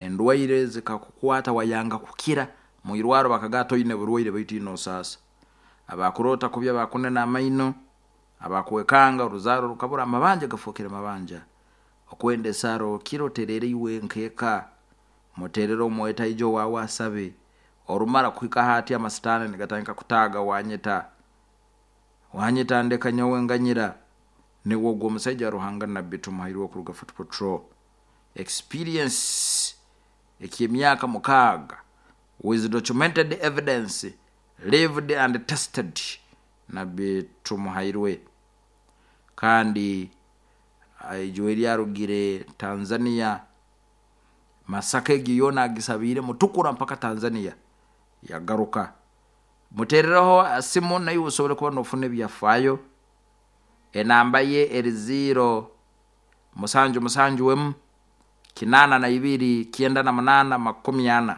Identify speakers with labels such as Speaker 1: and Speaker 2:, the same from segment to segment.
Speaker 1: Endwaire zikakukwata wayanga kukira, mwirwaro bakagaa toine burwaire baitu ine osaasa. Abakuroota kubi, abakunena amaino, abakwekanga oruzaaro rukabura, amabanja gafookere mabanja. Okwenda esaara okira oterere iwe nk'eka, muterere omwete aije owaawe asabe. Orumara kuhika hati amasitaani nigatandika kutaaga wanyeta. Wanyeta ndeka nyowe nganyira. Niwe ogwo omusaija wa Ruhanga Nabbi Tumuhairwe okuruga Fort Portal. Experience eky'emyaka 6 with documented evidence lived and tested Nabbi Tumuhairwe. Kandi ijwe eryarugire Tanzania, Masaka egyo yoona agisabiire Mutukura mpaka Tanzania yagaruka. Muteerereho simu naiwe osobole kuba nofuna ebyafaayo. Enamba ye eri 0 7 7 1 82 98 40.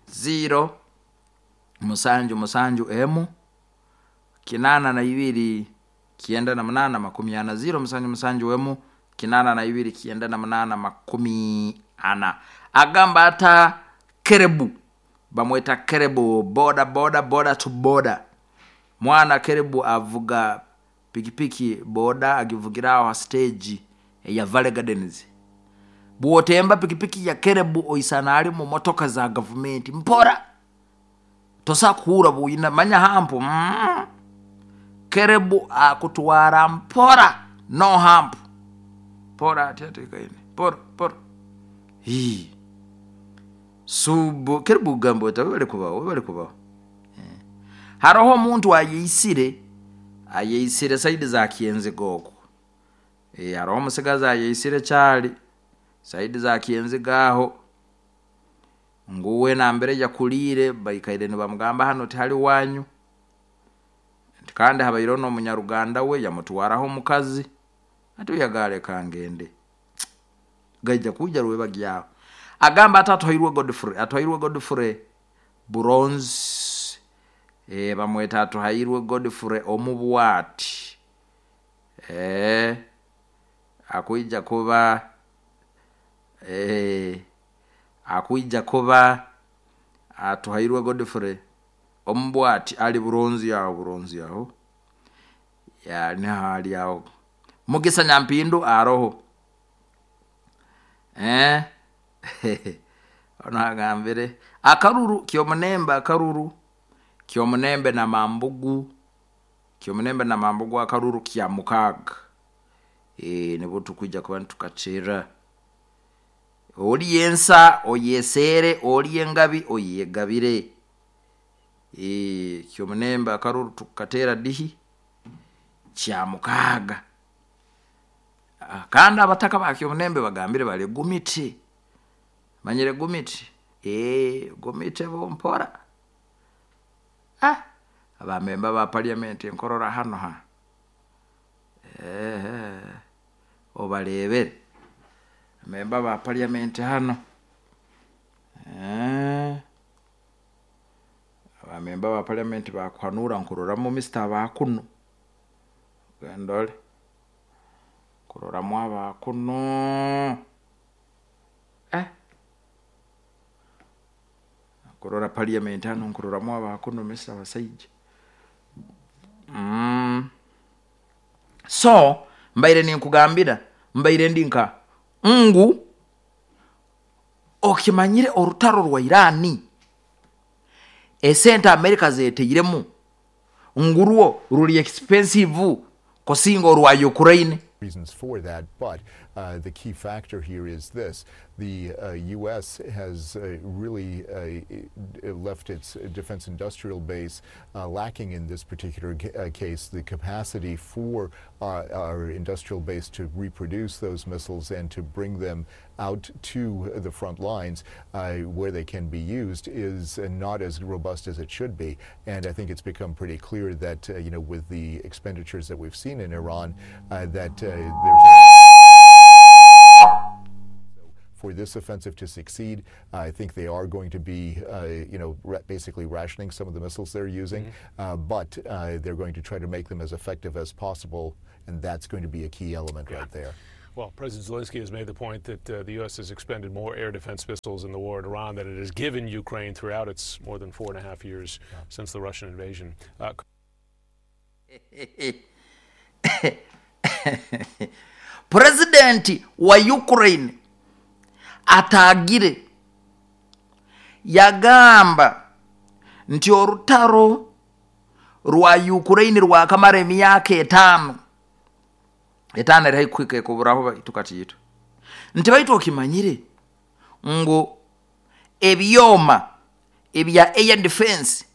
Speaker 1: 0 7 7 1 82 98 40. 0 7 7 1 82 98 40. Agamba ata Kerebu, bamweta Kerebu boda boda boda to boda. Mwana Kerebu avuga pikipiki boda agivugira aho ha stage eya Valley Gardens. Bw'otemba pikipiki ya Kerebu oisana ali mu motoka za gavumenti mpora. Tosa kuhurra bwina manya hampu. Kerebu akutwara mpora no hampu. Mpora ati atekaine. Mpora mpora. Hii. Subu Kerebu gamba oti webale kubaho, webale kubaho. Haroho omuntu ayeisire saidi za Kyenziga okwo. Haroho omusigazi ayeisire kyali saidi za Kyenziga aho. Nguwe nambere yakuliire baikaire nibamugamba hano tihali wanyu. Nti kandi habaireho n'omunyaruganda we yamutwaraho omukazi. Ati oyagaleka ngende. Gaija kwija rwebagyaho. Agamba ati atuhairwe Godfrey, atuhairwe Godfrey Bronze. Bamweta atuhairwe Godfrey omubwati. Akwija kuba akwija kuba atuhairwe Godfrey omubwati ali Bronze aho, Bronze aho. Ya niho ali aho. Mugisa Nyampindu aroho. Ono agambire akaruru kyomunembe, akaruru kyomunembe na mambugu, kyomunembe na mambugu akaruru kya 6. Nibwo tukwija kuba nitukakira. Oli ensa oyesere, oli engabi oyegabire. Kyomunembe akaruru tukatera dihi kya 6. Kandi abataka ba kyomunembe bagambire bali gumiti. Manyire gumiti? Gumite bompora. Abamemba ba parliament nkorora hano ha. Obarebere. Memba ba parliament hano. Abamemba ba parliament bakuhanura nkuroramu Mr. Abakuno. Gendole. Kuroramu Abakuno. Kurora parliament hano nkuroramu Abakuno Mr. Abasaija. So mbaire ninkugambira, mbaire ndi nka ngu okimanyire orutaro rwa Irani esente Amerika zeteiremu ngurwo ruri expensive kusinga orwa Ukraine.
Speaker 2: Reasons for that, but the key factor here is this. The U.S. has really left its defense industrial base lacking in this particular case, the capacity for our industrial base to reproduce those missiles and to bring them out to the front lines where they can be used is not as robust as it should be. And I think it's become pretty clear that, with the expenditures that we've seen in Iran, that there's for this offensive to succeed, I think they are going to be, basically rationing some of the missiles they're using, but they're going to try to make them as effective as possible, and that's going to be a key element right there.
Speaker 3: Well, President Zelensky has made the point that the U.S. has expended more air defense missiles in the war at Iran than it has given Ukraine throughout its more than 4.5 years since the Russian invasion.
Speaker 1: Purezidenti wa Ukraine atagire yagamba nti orutaro rwa Ukraine rwakamara emyaka 5 etaano eri haikuhika ekuburaho tukatiito nti baitu okimanyire ngu ebyoma ebya air defense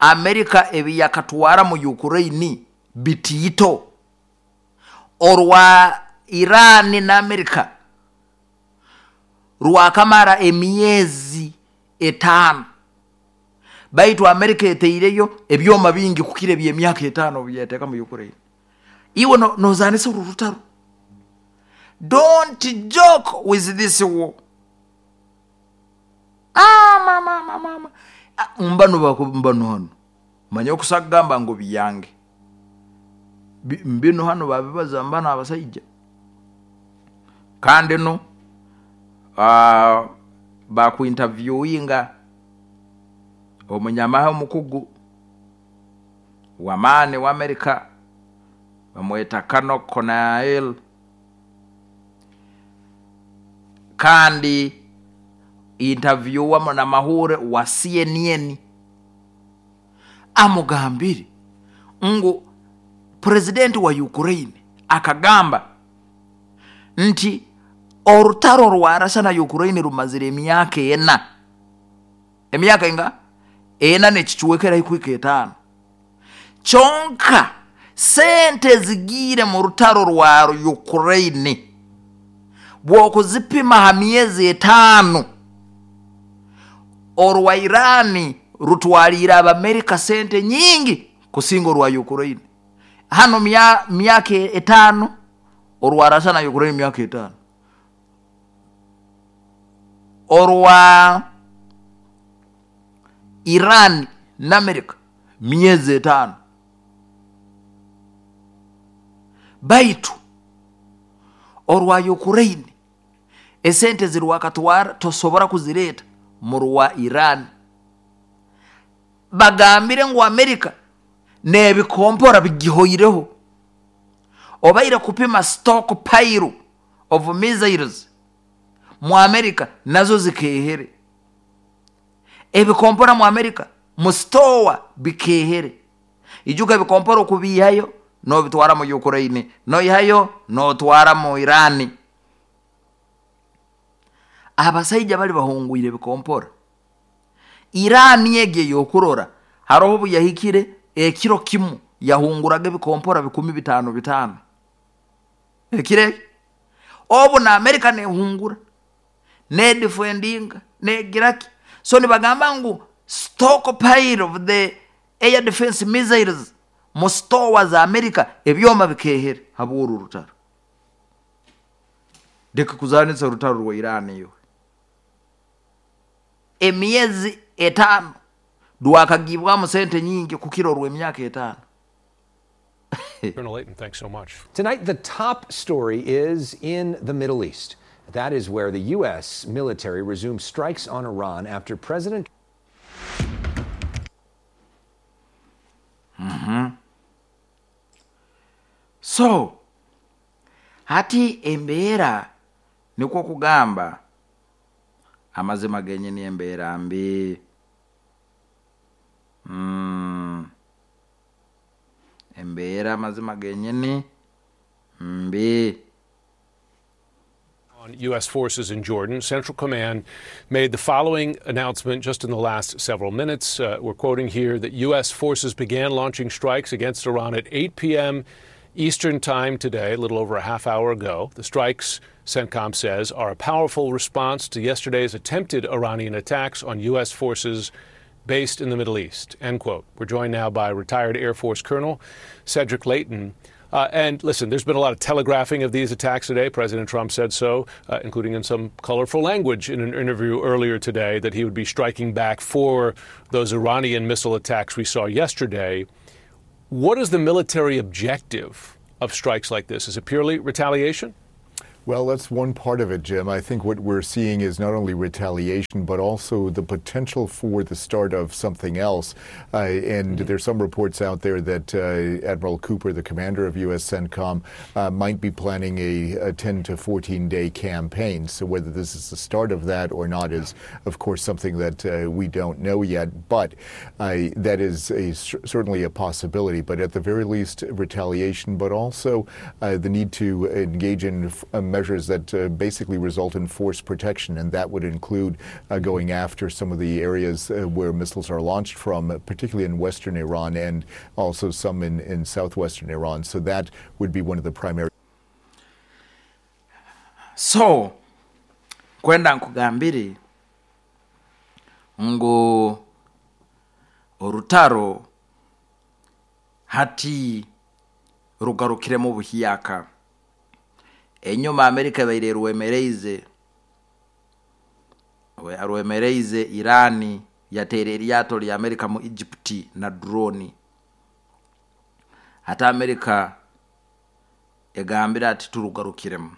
Speaker 1: Amerika ebiyakatwara mu Ukraine bitiito orwa Iran na Amerika rwakamara emyezi 5 baitu Amerika eteireyo ebyoma bingi kukira ebyemyaka 5 byeteka mu Ukraine. Iwe nozanisa uru rutaro. Don't joke with this war. Mama mama. Mbano mbano hano. Manya okusagamba ngo biyange. Mbino hano babibaza mbana abasajja. Kandi no bakuinterviewinga omunyamahe omukugu wamane wa Amerika bamweta Kano Konael, kandi interview na mahure wa CNN amugambire ngu president wa Ukraine akagamba nti orutaro rwa Russia na Ukraine rumazire emyaka 4. Emyaka inga 4 nekicuwekera ikwika 5. Chonka sente zigire mu rutaro rwa Ukraine bwokuzipima ha myezi 5 orwa Irani rutwalira Abamerika sente nyingi kusinga orwa Ukraine. Hano myaka 5 orwa Russia na Ukraine myaka 5. Orwa Iran na Amerika myezi 5. Baitu orwa Ukraine esente zirwakatwara tosobora kuzireta mu rwa Iran. Bagambire ngu Amerika nebikompora bigihoireho obaire kupima stock pile of missiles mu Amerika nazo zikehere. Ebikompora mu Amerika mu store bikehere. Ijuka ebikompora okubihayo no bitwara mu Ukraine, no ihayo no twara mu Iran. Abasajja bali bahungwire bikompora. Iran yege yokurora haroho buyahikire ekiro kimu yahunguraga bikompora 15 5. Ekire obu na Amerika nehungura ne defending ne giraki. So nibagamba ngu stockpile of the air defense missiles mu store za Amerika ebyoma bikehere haburu rutaro. Deka kuzanitsa rutaro rwa Iran iyo emyezi 5 rwakagibwamu sente nyingi kukiro rw'emyaka 5.
Speaker 3: Colonel Layton, thanks so much.
Speaker 4: Tonight, the top story is in the Middle East. That is where the U.S. military resumed strikes on Iran after President
Speaker 1: So, hati embeera nikwo kugamba amazima genyini embeera mbi. Embeera amazima genyini mbi.
Speaker 3: On U.S. forces in Jordan, Central Command made the following announcement just in the last several minutes. We're quoting here that U.S. forces began launching strikes against Iran at 8 p.m. Eastern Time today, a little over a half hour ago. The strikes, CENTCOM says, are a powerful response to yesterday's attempted Iranian attacks on U.S. forces based in the Middle East, end quote. We're joined now by retired Air Force Colonel Cedric Leighton. And listen, there's been a lot of telegraphing of these attacks today. President Trump said so, including in some colorful language in an interview earlier today, that he would be striking back for those Iranian missile attacks we saw yesterday. What is the military objective of strikes like this? Is it purely retaliation?
Speaker 2: Well, that's one part of it, Jim. I think what we're seeing is not only retaliation, but also the potential for the start of something else. And there's some reports out there that Admiral Cooper, the commander of USCENTCOM, might be planning a 10 to 14 day campaign. So whether this is the start of that or not is, of course, something that we don't know yet. But that is certainly a possibility. But at the very least, retaliation, but also the need to engage in measures that basically result in force protection, and that would include going after some of the areas where missiles are launched from, particularly in western Iran and also some in southwestern Iran. So that would be one of the primary.
Speaker 1: So kwenda nkugambire ngu orutaro hati rugarukiremu buhyaka. Enyuma Amerika ebaire rwemereize Irani, yateera eryato lya Amerika mu Egypt na drone. Hati Amerika egambire ati turugarukiremu,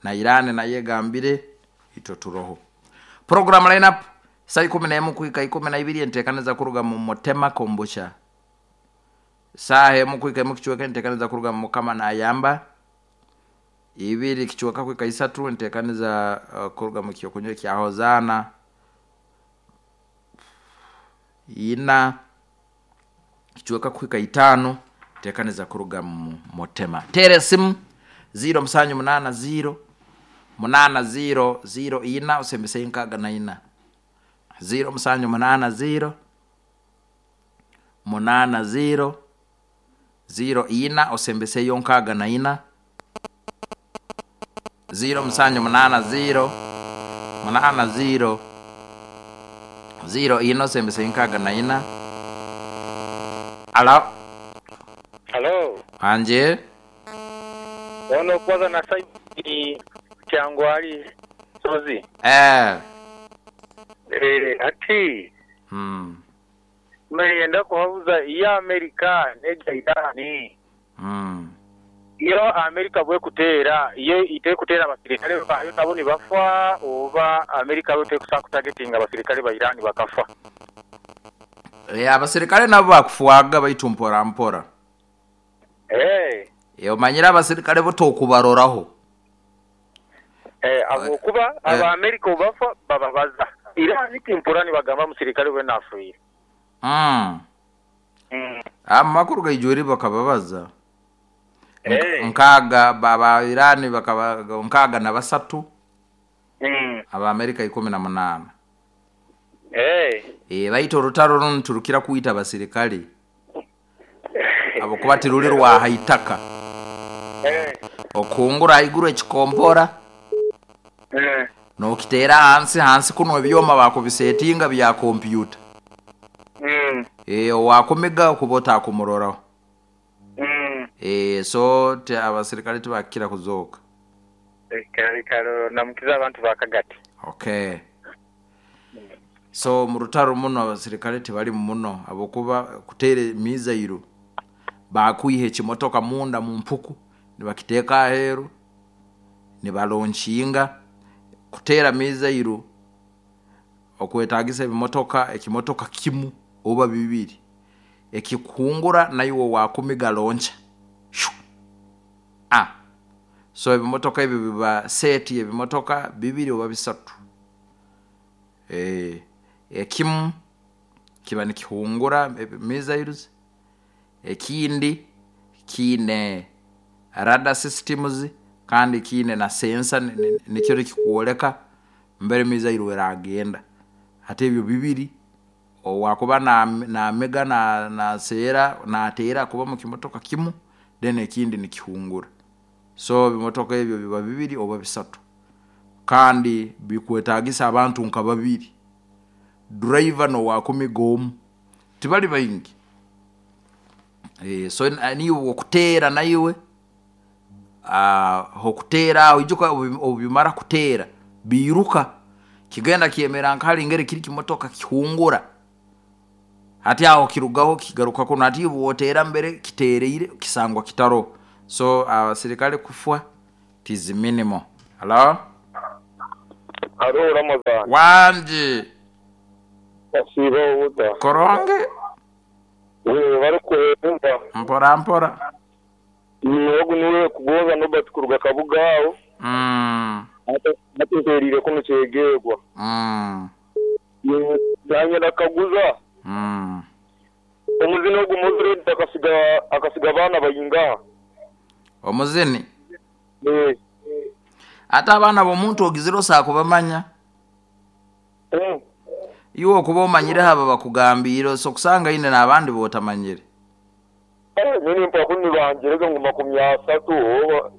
Speaker 1: na Irani nayo egambire itwe turoho. Program lineup saa 11 kuhika 12, enteekaniza kuruga mu Motema Kombusha. Saa 1 kuhika 1 kichweka, enteekaniza kuruga mu Mukama Nayamba. 2 kichweka kuhika 3, enteekaniza kuruga mu Kyokunywa kya Hozana. 4 kichweka kuhika 5, enteekaniza kuruga mu Motema. Tere simu 0780 80 04 usembese 64 0780 80 04 osembeseyo 64 0780 80 04 osembese 64. Alo.
Speaker 5: Halo.
Speaker 1: Anje.
Speaker 5: Ono kwanza na saidi Kyangwali Sozi. Ati. Meyenda kuhabuza iya Amerika neja Irani. Iyo Amerika bwe kuteera, iyo ite kuteera abasirikale bayo nabo ni bafa, oba Amerika bwe tekusa kutagetinga abasirikale ba Irani bakafa.
Speaker 1: Abasirikale nabo bakufuaga baitu mpora mpora. Omanyira abasirikale bo tokubaroraho.
Speaker 5: Abokuba aba Amerika bafa bababaza. Irani timpurani bagamba musirikale we nafuye.
Speaker 1: Amakuru gaijuri bakababaza. Nkaga baba Irani bakaba nkaga na basatu. Aba Amerika 18. Baito rutaro runturukira kuita abasirikale. Abo kuba tirulirwa haitaka. Okungura iguru ekikompora. Nokitera hansi hansi kuno ebyoma bakubisetinga bya computer. Wakomega kubota kumuroraho. So te abasirikale tibakira kuzoka.
Speaker 5: Karo namukiza abantu bakagati.
Speaker 1: Okay. So murutaro muno abasirikale tibali muno abokuba kutere mizairo bakuihe kimotoka munda mu mpuku nibakiteka aheru nibalonshinga kutera mizairo okwetagisa ebimotoka ekimotoka kimu oba bibiri ekikungura nayo wakumiga loncha. So ebimotoka ebyo biba seti ebimotoka bibiri oba bisatu. Ekimu kiba nikihungura missiles, ekindi kine radar systems kandi kine na sensor nikyo kikuoleka mbere missile eragenda. Ate ebyo bibiri owakuba na mega na sera na atera kuba mu kimotoka kimu then ekindi nikihungura. So bimotoka ebyo biba bibiri oba bisatu kandi bikwetagisa abantu nka babiri, driver no wakumigomu tibali bayingi. So ni okutera naiwe hokutera oijuka obimara kutera biruka kigenda kiemera nkali ngere kiri kimotoka kihungura. Hati aho kirugaho kigaruka kuno ati wotera mbere kitereire kisangwa kitaro. So abasirikale kufwa It is minimal. Halo?
Speaker 6: Halo Ramadhan.
Speaker 1: Wangi.
Speaker 6: Wasiiba ota?
Speaker 1: Kurungi.
Speaker 6: Webale kuheereza.
Speaker 1: Mpora mpora.
Speaker 6: Ogu niwe Kugonza Norbert kuruga Kabuga aho. Hati mpereire kunu Kyegegwa. Nanye nakaguza. Omuzini ogu Mozred akasiga abaana baingaha?
Speaker 1: Omuzini? Ate abaana b'omuntu ogizire osobola kubamanya. Iwe okuba omanyireho abo bakugambiire osobola kusanga aine n'abandi b'otamanyire.
Speaker 6: Nyini mpaku nibangirege ngu 30 oba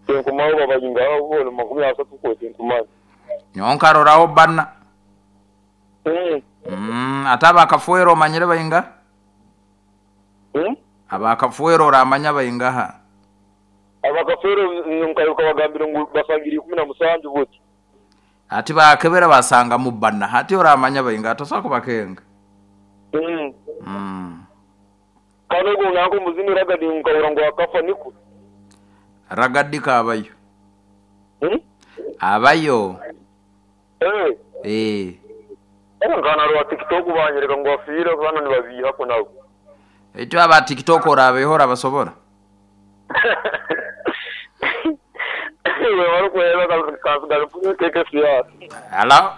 Speaker 6: tinkumanya oba baingaha boona 30 kwo tinkumanya.
Speaker 1: Nyowe nkaroraho bbana. Ate abakafwera omanyire baingaha? Abakafwera oramanya baingaha?
Speaker 6: Abakafwera nkayoka bagambire ngu basangire 17 buti.
Speaker 1: Ati bakebera basangamu bbana hati oramanya baingaha tosobola kubakenga.
Speaker 6: Kandi ogwo nanka omuzini Ragadi nkahurra ngu akafa nikwo?
Speaker 1: Ragadi kaabayo. Abayo. Eeh.
Speaker 6: Nkaba narora tiktok banyereka ngu afiire banu nibabiihaku nabo.
Speaker 1: Itwe aba tiktok orabeho orabasobora? Halo.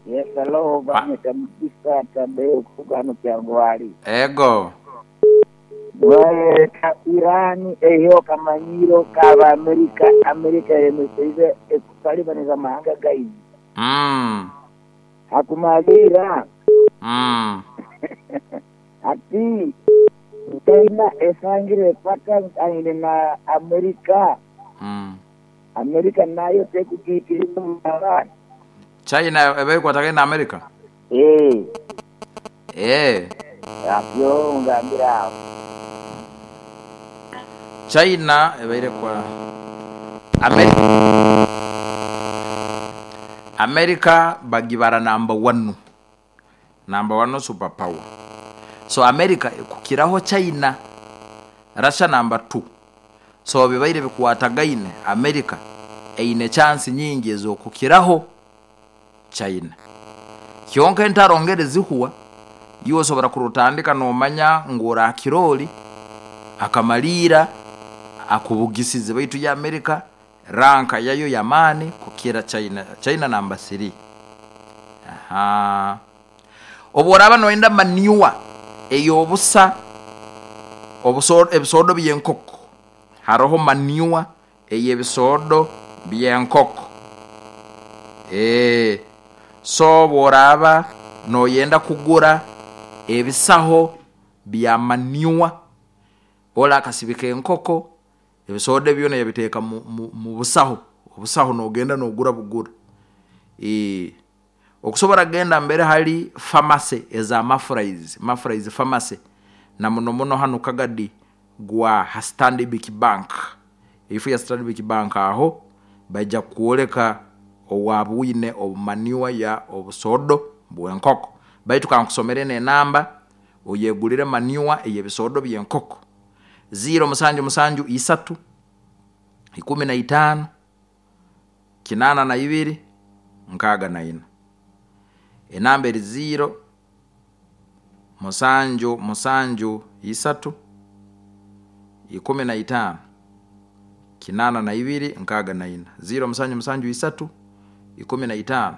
Speaker 7: Yes hello bamweta Mugisa Tadeo kuruga hanu Kyangwali.
Speaker 1: Ego.
Speaker 7: Bwayereka Iran eiheho akamanyiro k'aba Amerika, Amerika eyemeseize ekutalibaniza amahanga gaitu. Hakumalirra hati China esangire ekwatagaine na Amerika, Amerika nayo tekugiikiriza omu maani.
Speaker 1: China eba ekwatagaine na Amerika?
Speaker 7: Eeh.
Speaker 1: Eeh.
Speaker 7: Atyo ngambire aho.
Speaker 1: China ebaire kwa America bagibara namba wanu, namba wanu super power. So America ekukiraho China, Russia namba tu. So bibaire bikwatagaine America eine chansi nyingi ez'okukiraho China. Kyonka entaro ngeri zihwa, iwe osobora kurutandika nomanya ngu orakira ori akamaliira akubugisize baitu yo America ranka yayo y'amaani kukira China. China namba siri. Ahaa. Obu oraaba noyenda manure ey'obusa, ebisoodo by'enkoko, haroho manure ey'ebisoodo by'enkoko. Eeh. So obu oraaba noyenda kugura ebisaho bya manure, ole akasibika enkoko, ebisoodo ebyo byona yabiteeka mu busaho, obusaho nogenda nogura bugura. Eeh. Okusobora kugenda mbere hali pharmacy eza Mafraiz, Mafraiz Pharmacy, na muno muno hanu Kagadi gwa ha Stanbic Bank, eifo ya Stanbic Bank aho baija kukwoleka owaaba oine obumanure ya obusodo bw'enkoko. Baitu kankusomere eno enamba oyegulire manure ey'ebisoodo by'enkoko, ziiro musanju musanju isatu, ikumi na itaano, kinaana na ibiri, nkaaga na ina. Enamba eri ziiro musanju musanju isatu, 15, 82, 64. Ziiro musanju musanju isatu, 15,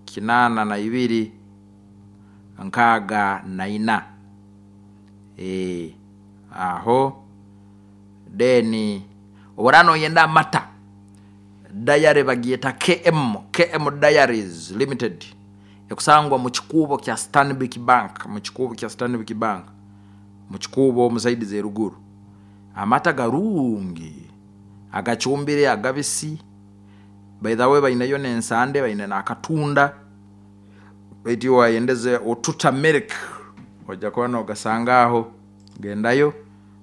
Speaker 1: 82, 64. Eeh agho then obw'oraaba noyenda amata, dayare bagyeta KM, KM Diaries Limited ekusangwa mu kikuubo kya Stanbic Bank, mu kikuubo kya Stanbic Bank, mu kikuubo omu saidi z'eruguru. Amata garungi, agacumbire, agabisi, by the way bainayo n'ensande, baine n'akatunda, baitu iwe wayendeze Otuta Milk oja kuba nogasanga aho, gendayo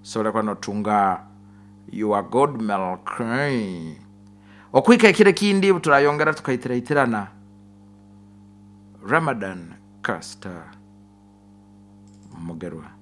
Speaker 1: osobole kuba notunga your good milk. Okuhika ekiro ekindi obuturayongera tukaitiraitirana, Ramadan Kasita Mugerwa.